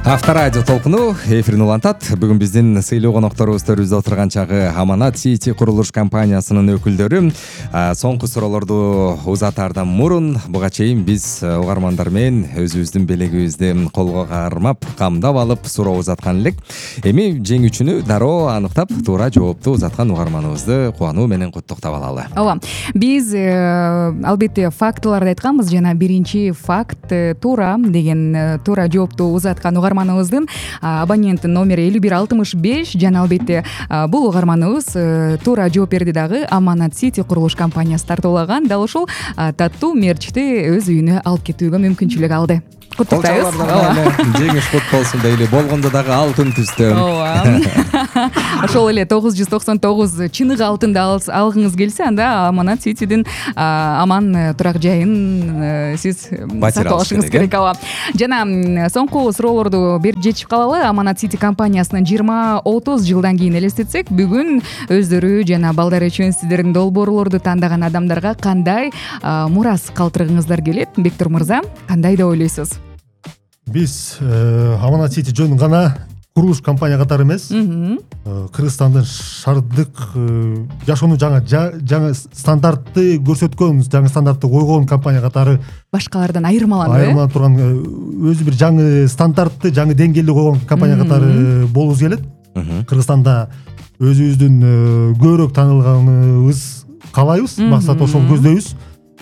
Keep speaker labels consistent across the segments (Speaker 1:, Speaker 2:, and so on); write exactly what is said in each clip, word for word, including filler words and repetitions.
Speaker 1: Авторадио толкуну эфирин улантат. Бүгүн биздин сыйлуу конокторубуз төрүбүздө отурган чагы Аманат City курулуш компаниясынын өкүлдөрү. Соңку суроолорду узатаардан мурун буга чейин биз угармандар менен өзүбүздүн белегибизди колго кармап, камдап алып суроо узаткан элек. Эми жеңүүчүнү дароо аныктап, туура жоопту узаткан угарманыбызды кубануу менен куттуктап алалы.
Speaker 2: Ооба. Биз албетте фактыларды айтканбыз. Жана биринчи факт туура деген туура жоопту узаткан угарманыбыздын абонент номери элүү бир алтымыш беш жана албетте бул угарманыбыз туура жооп берди дагы Аманат City курулуш компаниясы тартуулаган. Дал ушул таттуу мерчти өз үйүнө алып кетүүгө мүмкүнчүлүк алды. Куттуктайбыз.
Speaker 1: Жеңиш кут болсун дейли. Болгондо дагы алтын түстө.
Speaker 2: Ооба. Ошол эле тогуз жүз токсон тогуз чыныгы алтынды алгыңыз келсе, анда Аманат Cityдин аман турак жайын сиз сакталышыңыз керек. Ооба. Жана соңку суроолорду берип жетишип калалы. Аманат City компаниясынын жыйырма отуз жылдан кийин элестетсек, бүгүн өздөрү жана балдар үчүн сиздердин долбоорлорду тандаган адамдарга кандай мурас калтыргыңыздар келет? Бектур мырза, кандай деп ойлойсуз?
Speaker 3: Биз Аманат City жөн гана курулуш компания катары эмес, Кыргызстандын шаардык жашоону жаңа жаңа стандартты көрсөткөн, жаңа стандартты койгон компания катары
Speaker 2: башкалардан айырмаланып,
Speaker 3: айырмаланып турган, өзү бир жаңы стандартты, жаңы деңгээлде койгон компания катары болубуз келет. Кыргызстанда өзүбүздүн көбүрөөк таанылганыбыз каалайбыз, максат ошол көздөйбүз.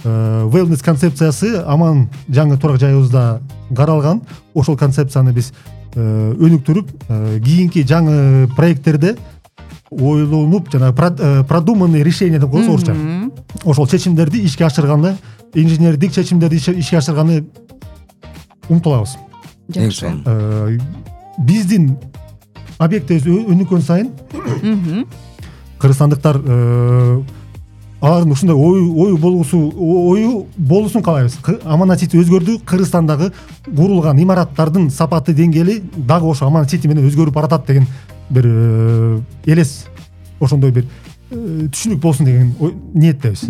Speaker 3: Wellness концепциясы аман жаңы турак жайыбызда каралган. Ошол концепцияны биз өнүктүрүп, кийинки жаңы проекттерде ойлонуп, жана продуманный решение деп коебуз орусча. Ошол чечимдерди ишке ашырганы, инженердик чечимдерди ишке ашырганы умтулабыз.
Speaker 2: Жакшы.
Speaker 3: Биздин объектибиз өнүккөн сайын кыргызстандыктар алардын ушундай ой ой болгусу ою болуусун каалайбыз. Аманат City өзгөрдү. Кыргызстандагы курулган имараттардын сапаты деңгээли дагы ошо Аманат City менен өзгөрүп баратат деген бир элес, ошондой бир түшүнүк болсун деген ниеттебиз.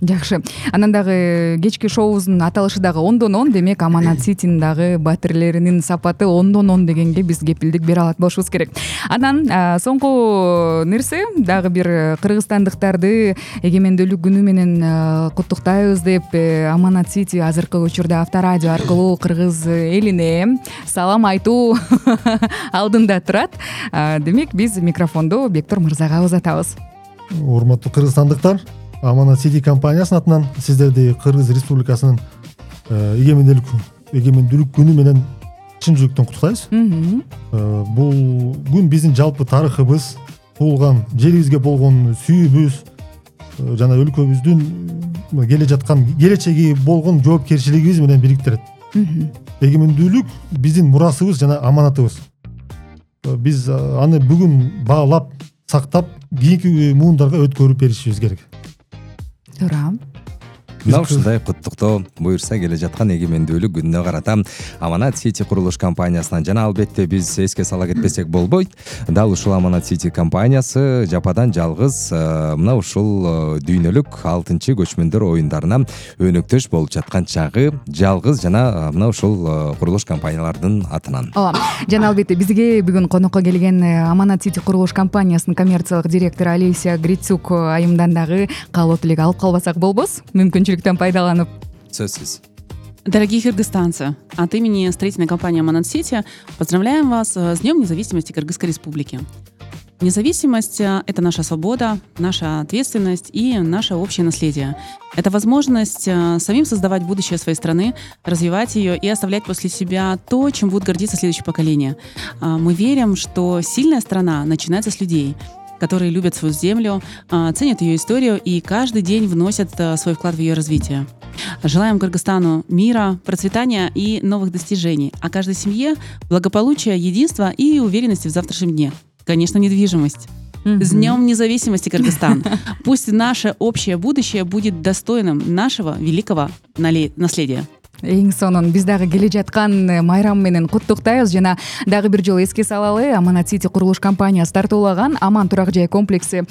Speaker 2: Жакшы. Анан дагы кечки шоубуздун аталышы дагы ондон он, демек Аманат Cityнин дагы батирлеринин сапаты ондон он дегенге биз кепилдик бере алат болушубуз керек. Анан соңку нерсе дагы бир кыргызстандыктарды эгемендүүлүк күнү менен куттуктайбыз деп Аманат City азыркы учурда Авторадио аркылуу кыргыз элине салам айтуу алдында турат. Демек биз микрофонду Бектур мырзага узатабыз.
Speaker 3: Урматтуу кыргызстандыктар, Аманат City компаниясынын атынан сиздерди Кыргыз Республикасынын эгемендүүлүк эгемендүүлүк күнү менен чын жүрөктөн куттуктайбыз. Бул күн биздин жалпы тарыхыбыз, туулган жерибизге болгон сүйүүбүз жана өлкөбүздүн келе жаткан келечеги болгон жоопкерчилигибиз менен бириктирет. Эгемендүүлүк биздин мурасыбыз жана аманатыбыз. Биз аны бүгүн баалап, сактап, кийинки муундарга өткөрүп беришибиз керек.
Speaker 2: Туура.
Speaker 1: Мына ушундай куттуктоо буюрса келе жаткан эгемендүүлүк күнүнө карата Аманат City курулуш компаниясынан жана албетте биз эске сала кетпесек болбойт. Дал ушул Аманат City компаниясы жападан жалгыз мына ушул дүйнөлүк алтынчы көчмөндөр оюндарына өнөктөш болуп жаткан чагы жалгыз жана мына ушул курулуш компаниялардын атынан.
Speaker 2: Ооба. Жана албетте бизге бүгүн конокко келген Аманат City курулуш компаниясынын коммерциялык директору Олеся Грицук айымдан дагы каалоо тилек алып калбасак болбос. Мүмкүнчүлүктөн пайдаланып.
Speaker 1: Сөзсүз.
Speaker 4: Дорогие кыргызстанцы, от имени строительной компании Аманат City поздравляем вас с Днем независимости Кыргызской Республики. Независимость – это наша свобода, наша ответственность и наше общее наследие. Это возможность самим создавать будущее своей страны, развивать ее и оставлять после себя то, чем будут гордиться следующее поколение. Мы верим, что сильная страна начинается с людей, которые любят свою землю, ценят ее историю и каждый день вносят свой вклад в ее развитие. Желаем Кыргызстану мира, процветания и новых достижений, а каждой семье благополучия, единства и уверенности в завтрашнем дне. Конечно, недвижимость. Mm-hmm. С Днем независимости, Кыргызстан! Пусть наше общее будущее будет достойным нашего великого наследия.
Speaker 2: эң сонун биз дагы келе жаткан майрам менен куттуктайбыз жана дагы бир жолу эске салалы, Аманат Сити курулуш компаниясы тартуулаган Аман турак жай комплекси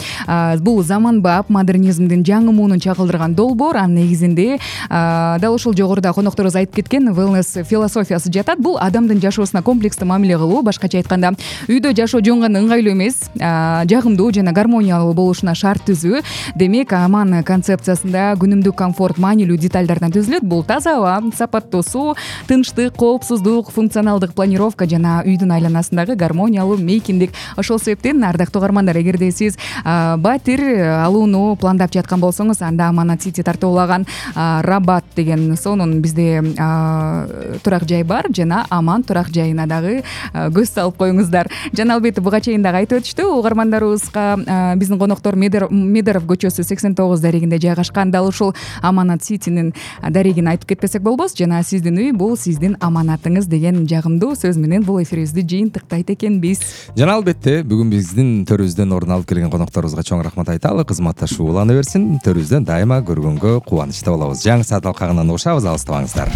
Speaker 2: бул заманбап модернизмдин жаңы муунун чагылдырган долбоор. Анын негизинде дал ушул жогоруда конокторубуз айтып кеткен wellness философиясы жатат. Бул адамдын жашоосуна комплекстүү мамиле кылуу, башкача айтканда үйдө жашоо жөн гана ыңгайлуу эмес, жагымдуу жана гармониялуу болушуна шарт түзүү. Демек, Аман концепциясында күнүмдүк комфорт маанилүү детальдардан түзүлөт. Бул таза аба, сапаттуу суу, тынчтык, коопсуздук, функционалдык планировка жана үйдүн айланасындагы гармониялуу мейкиндик. Ошол себептен ардактуу угармандар, эгерде сиз батир алууну пландап жаткан болсоңуз, анда Аманат Сити тартуулаган Рабат деген сонун бизде турак жай бар жана Аман турак жайына дагы көз салып коюңуздар. Жана албетте буга чейин дагы айтып өтүштү угармандарыбызга, биздин коноктор Медеров көчөсү сексен тогуз дарегинде жайгашкан. Дал ушул Аманат Ситинин дарегин айтып кетпесек болбос. Жана сиздин үй бул сиздин аманатыңыз деген жагымдуу сөз менен бул эфирибизди жыйынтыктайт экенбиз.
Speaker 1: Жана албетте бүгүн биздин төрүбүздөн орун алып келген конокторубузга чоң рахмат айталы. Кызматташуу улана берсин. Төрүбүздөн дайыма көргөнгө кубанычта болобуз. Жаңы саат алкагынан угушабыз, алыстабаңыздар.